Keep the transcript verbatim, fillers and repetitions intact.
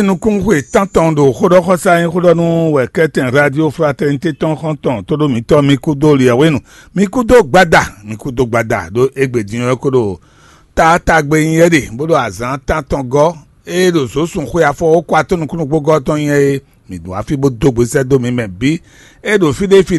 Nukúnxwe tántɔn ɖo xóɖɔxɔsá nyí xóɖɔnú wɛ kɛ́tɛn Radio Fraternité tɔn xɔ́ntɔn tóɖó mǐtɔn mi kúdó liɛwénu, mi kúdó gbada, mi kúdó gbada ɖó égbé din ɔ́ kó ɖo taatagbe nyí é ɖe, bó ɖo azǎn tántɔn gɔ́, ée ɖo zǒsun xwe afɔ ó kó atɔ́ nukúnnú gbógɔ́ tɔn nyí é. Mǐ ɖo afí bó dó gbe sɛ́ dó mǐ mɛ bǐ. É ɖo fí ɖé fí